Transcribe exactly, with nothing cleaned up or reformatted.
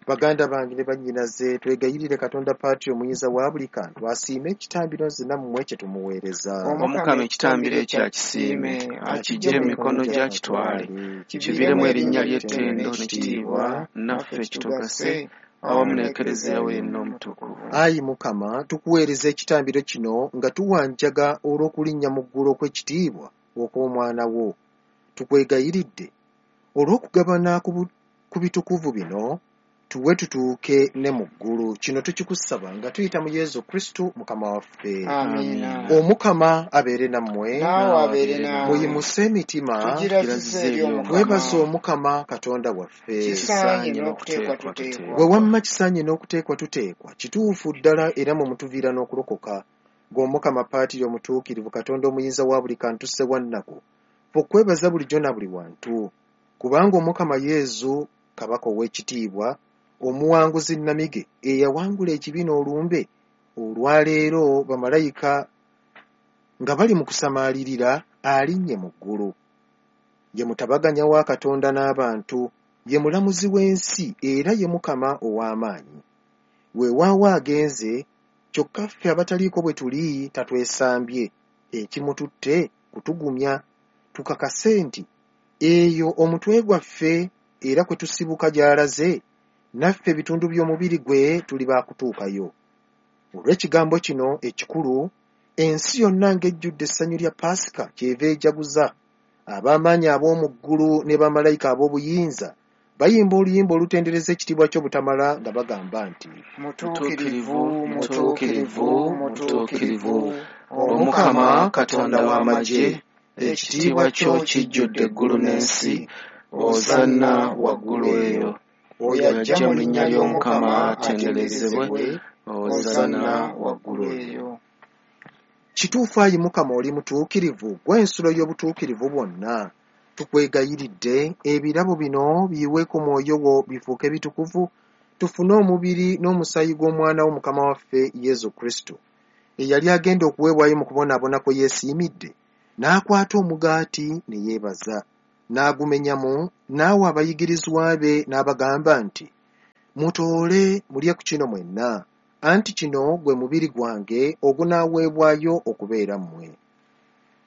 Baganda bange ne bannyinaze, twegayirire Katonda Patri omuyinza wa buli kantu asiime ekitambiro nze nammwe kye tumuweereza. Omukama ekitambiro ekyo akisiime, akiggye mu mikono gye akitwale, kiviiremu erinnya ly'ettendo n'ekitiibwa, naffe kitugase awamu n'Ekereziya we yenna omutukuvu. Ayi Mukama, tukuweereza ekitambiro kino nga tuwanjaga olw'okulinnya mu ggulu okw'ekitiibwa okw'Omwana wo. Tukwegayiridde olw'okugabana ku bitukuvu bino, tuwe tutuuke ne mu ggulu. Kino tukikusaba nga tuyita mu Yesu Kristo Mukama waffe. Amiina. Omukama abeere nammwe. Naawe abeere naawe. Muyimuse emitima. Tugirazize eri Omukama. Twebaze Omukama Katonda waffe. Kisaanye n'okuteekwa tuteekwa. Bwe wamma kisaanye n'okuteekwa tuteekwa, kituufu ddala era mwe mutuviira n'okulokoka. Ng'Omukama Paatiri omutuukirivu, Katonda omuyinza wa buli kantu Ssewannaku, ffe okwebaza bulijjo na buli wantu. Kubanga Omukama Yesu, Kabaka ow'ekitiibwa, omuwanguzi nnamige eyawangula ekibi n'olumbe, olwaleero bamalayika nga bali mu kusamaalirira alinnye mu ggulu. Ye mutabaganya wa Katonda n'abantu, ye mulamuzi w'ensi era ye Mukama ow'amaanyi. Weewaawo agenze, kyokka ffe abataliiko bwe tuli tatwesambye, ekimututte kutugumya, tukakase nti eyo omutwe gwaffe era kwe tusibuka gy'alaze, naffe ebitundu by'omubiri gwe tuli baakutuukayo. Olw'ekigambo kino ekikulu, ensi yonna ng'ejjudde essanyu lya Paasika kyeva ejaguza. Ab'amaanyi ab'omu ggulu ne bamalayika ab'obuyinza bayimba oluyimba olutendereza ekitiibwa ky'obutamala nga bagamba nti, Mutuukirivu, mutuukirivu, mutuukirivu, Omukama Katonda w'amagye, ekitiibwa kyo kijjudde eggulu n'ensi, Osanna waggulu eyo. Oyo ajja mu linnya ly'Omukama atenderezebwe, Osanna waggulu eyo. Kituufu ayi Mukama oli mutuukirivu, ggwe ensulo y'obutuukirivu bwonna. Tukwegayiridde ebirabo bino biyiweeko mwoyo wo bifuuke bitukuvu, tufune omubiri n'omusaayi gw'Omwana wo Mukama waffe Yesu Kristo, eyali agenda okuweebwayo mu kubonaabona kwe yeesiimidde, n'akwata omugaati ne yeebaza, n'agumenyamu, n'awa abayigirizwa be n'abagamba nti, mutoole mulye ku kino mwenna, anti kino gwe mubiri gwange ogunaaweebwayo okubeera mmwe.